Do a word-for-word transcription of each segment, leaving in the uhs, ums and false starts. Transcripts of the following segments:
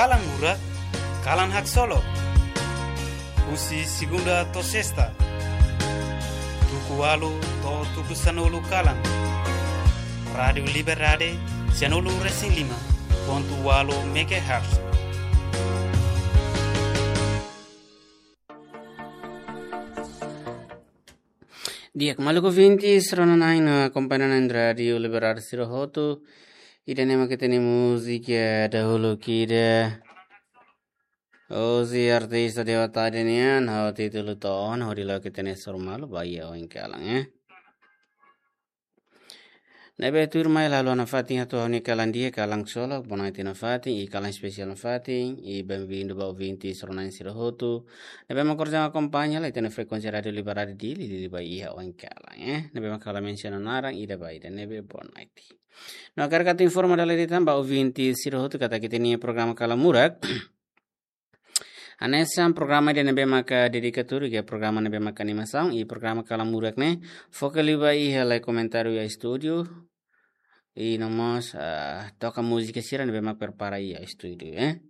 Kalan Murak, kalan haksolok. Husi segunda to'o sesta, tuku ualu to'o tuku sanulu kalan. Rádiu Liberdade, sianulu resin lima pontu ualu megahertz. Di'ak, maluk ouvintes, rona-na'in no akompaña-na'in Rádiu Liberdade sira hotu. Ida-ne'e mak ita-nia múzika dahuluk ida. Hosi artista Dewa Tadi nian, ha'u títulu to'o ona, hodi la'o ita-nia hasoru malu ba iha oin kalan, eh. Ne'ebé tuirmai halo nafatin atu ha'u-nia kalan di'ak, kalan solok, bonoite nafatin, i kalan espesiál nafatin, i benvindu ba ouvintes rona-na'in sira hotu. Ne'ebé mak orsida akompaña hela ita-nia frekuénsia Rádiu Liberdade Dili, Dili ba iha oin kalan, eh. Ne'ebé mak ha'u la mensiona naran ida ba ida, ne'ebé bonoite. No hakarak atu informa dala ida tan ba ouvintes sira hotu katak ita-nia programa Kalan Murak hanesan programa ida ne'ebé maka dedika tuir iha programa ne'ebé maka animasaun, i programa Kalan Murak ne'e foka liu ba iha lee komentáriu iha estúdiu, i no mós, ah, toka múzika sira ne'ebé maka prepara iha estúdiu, eh.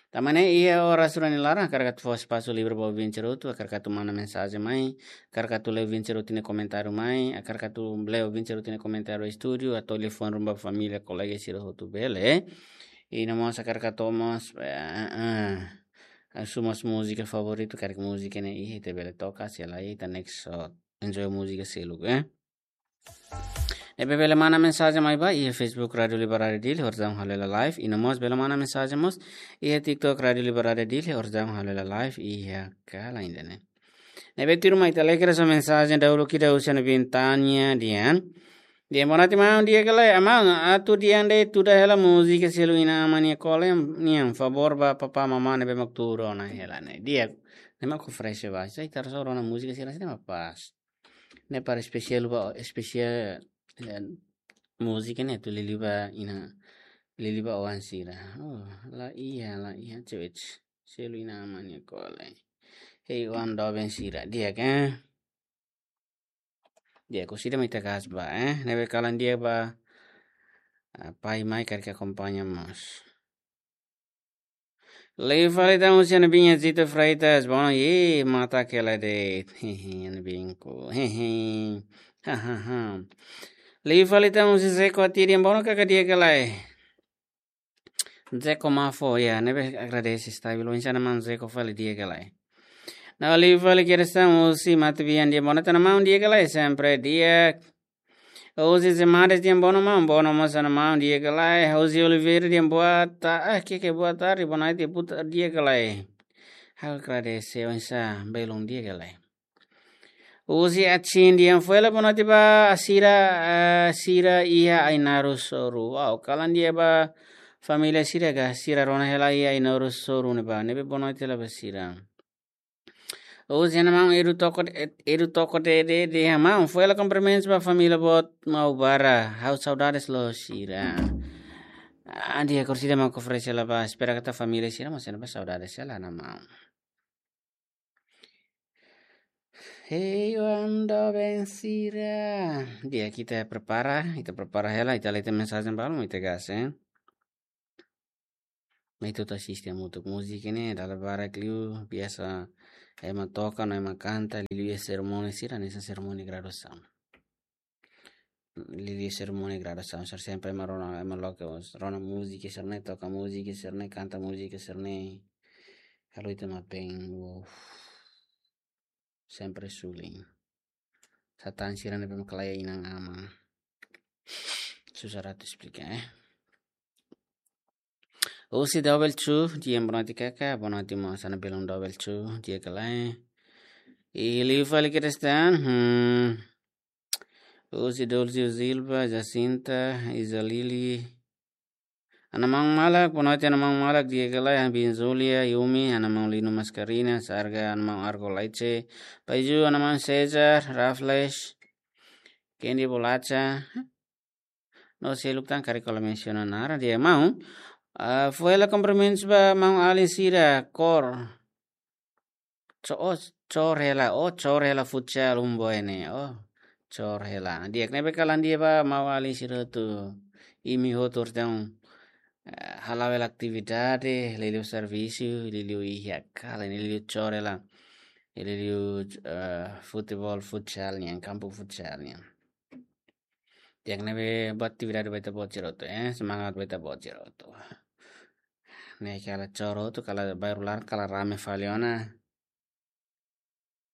Tanba ne'e iha oras rua nia laran hakarak atu fó espasu livre ba ouvinte sira hotu, hakarak atu manda mensajen mai, hakarak atu lee ouvinte sira hotu nia komentáriu mai, hakarak atu lee ouvinte sira hotu nia komentáriu estúdiu, atu telefone ruma ba família, kolega sira hotu bele. I no mós hakarak atu mós, eh, eh, eh, husu mós múzika favoritu, karik múzika ne'e iha ita bele toka, se lae ita next, so, enjoy múzika seluk, eh. Ne'ebé bele manda mensajen mai ba iha Facebook Rádiu Liberdade Dili, orsida halo hela live, i no mós bele manda mensajen mós iha TikTok Rádiu Liberdade Dili, orsida halo hela live iha kalan ida-ne'e. Ne'ebé tuirmai ita lee kedas mensajen dahuluk ida husi Ana Bintania Dian. Dian, bonoite maun, di'ak ka lae? Maun, atu Dian de'it tuda hela múzika Selu Inan Aman Nia Kole nian, favór ba papá mamá ne'ebé mak tuur ona hela ne'e. Di'ak, ne'e mak oferese ba. Sai tar so rona múzika sira sira mak pas. Ne'e para espesiál ba, espesiál, eh, múzika ne'e atu liuliu ba inan, liuliu ba oan sira. Oh, la iha, la iha, cewek. Selu Inan Aman Nia Kole. Hei oan doben sira, di'ak ka? Di'ak, orsida mai ita gas ba, eh. Ne'ebé kalan di'ak ba, ah, pai mai karik akompaña mós. Liu fali tan husi Ana Biin Zito Freitas, bono, ye, mata kela de, hehe, Ana Biin ku, hehe, ha, ha, ha. Liu fali tan husi Zeko Atiri, bono kaka di'ak ka lae? Zeko Mafo, ya, ne'ebé agradese, stabil, oinsá maun Zeko fali, di'ak ka lae? No liu fali kedas tan husi Mata Bian, di'ak, bonoite maun, di'ak ka lae? Sempre di'ak. Husi Zemades, di'ak, bono maun, bono mós maun, di'ak ka lae? Husi Oliveira, di'ak, boa ta-, ah, ke, ke, boa tarde, bonoite, puta, di'ak ka lae? Ha'u agradese, oinsá, belun, di'ak ka lae? Husi Achin, di'ak, foin hela bonoite ba sira, eh, sira iha Ainaro Soru. Wow, kalan di'ak ba família sira ka, sira rona hela iha Ainaro Soru ne'ebá, ne'ebé bonoite hela ba sira. Husi Ana Maun Edu Toko, Edu Toko de, de, de, Ana Maun, foin hela kumprimentus ba família boot Maubara. Ha'u saudades loos sira. Ah, di'ak, orsida mak oferese hela ba, espera katak família sira mós sente ba saudades hela, Ana Maun. Hei oan doben sira. Di'ak, ita prepara, ita prepara hela, ita lee ita mensajen balu, ita gas, eh. Mai ita atu asiste hamutuk múzika ne'e, dala barak liu, biasa ema toka, no ema kanta, liu iha serimónia sira, hanesan serimónia graduasaun. Liu iha serimónia graduasaun, sira sempre ema rona, ema loke, rona múzika sira-ne'e, toka múzika sira-ne'e, kanta múzika sira-ne'e. Halo ita mak bem, uff. Sempre suli. Satan sira ne'ebé mak la iha inan-aman. Susar atu esplika, eh. Husi Double Two, di'ak, bonoite kaka, bonoite mós Ana, belun Double Two, di'ak ka lae? I liu fali kedas tan, hmm. Husi Dulcio Silva, Jacinta, Iza Lili. Ana Maun Malak, bonoite Ana Maun Malak, di'ak ka lae? Ana Biin Zulia, Yumi, Ana Maun Lino Mascarina, Sarga, Ana Maun Argo Laice, Paiju, Ana Maun Cesar, Raffles, Candy Bolacha. No seluk tan karik ha'u la mensiona naran, di'ak maun. Ah, foin hela kumprimentus ba maun-alin sira, kór. Co-, oh, cór hela, oh, cór hela futsal um boy ne'e, oh, cór hela. Di'ak, ne'ebé kalan di'ak ba maun-alin sira hotu, imi hotu orsida eh, hala'o hela atividade, liuliu servisu, liuliu iha kala, liuliu chorela, liuliu, eh, futebol, futsal nian, kampu futsal nian. Di'ak ne'ebé buat atividade ba ita-boot sira hotu, eh, semangat ba ita-boot sira hotu. Ne'e kala choro hotu, kala baru lar, kala rame fali ona.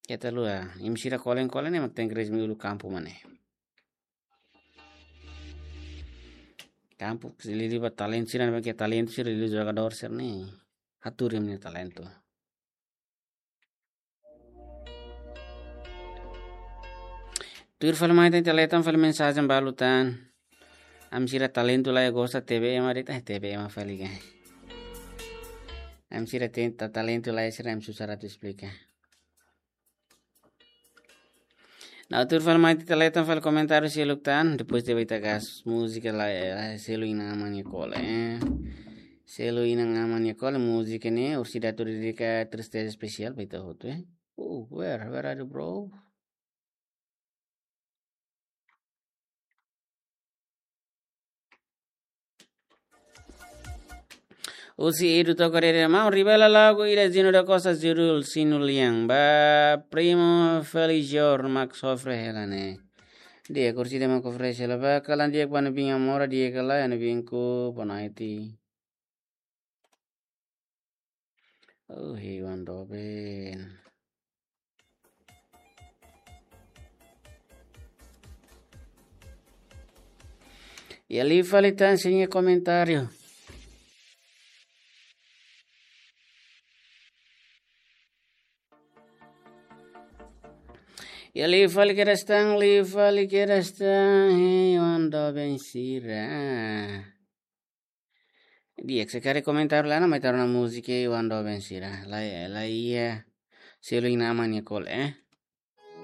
Keta lua, imi sira kolen-kolen ne'e mak tenke resmi uluk kampu mak ne'e. Kampu, liuliu ba talentu sira, ne'ebé ke talentu sira, liuliu jogadór sira ne'e. Hatuur imi-nia talentu. Tuir fali mai tan, ita leten fali mensajen balu tan. Ami sira talentu la iha gosta T B M ari ta T B M fali ka. Ami sira ten ta talentu la iha sira ami susar atu esplika. Nah, tuir fali mai ita leten fali komentáriu seluk tan, depois de ita gas múzika la, eh, selu inan-aman nia kole, eh. Selu inan-aman nia kole, múzika ne'e, orsida atu dedika tristeza espesiál ba ita hotu, eh. Oh, where, where are you, bro? Husi Edu Toko Dede, maun, revela lagu ida Zino da Costa judul Sinu Liang. Ba primo Felijor mak sofre hela ne'e. Di'ak, orsida mak oferese hela ba, kalan di'ak ba ne'ebé nia mora di'ak ka lae, ne'ebé ku Bonaiti. Oh, hewan doben. Ya, liu fali tan sira-nia komentáriu. Ya, liu fali kedas tan, liu fali kedas tan, hewan doben sira. Di'ak, se karik komentáriu la iha, mai ita rona múzika hewan doben sira. La, la iha selu inan-aman nia kole, eh.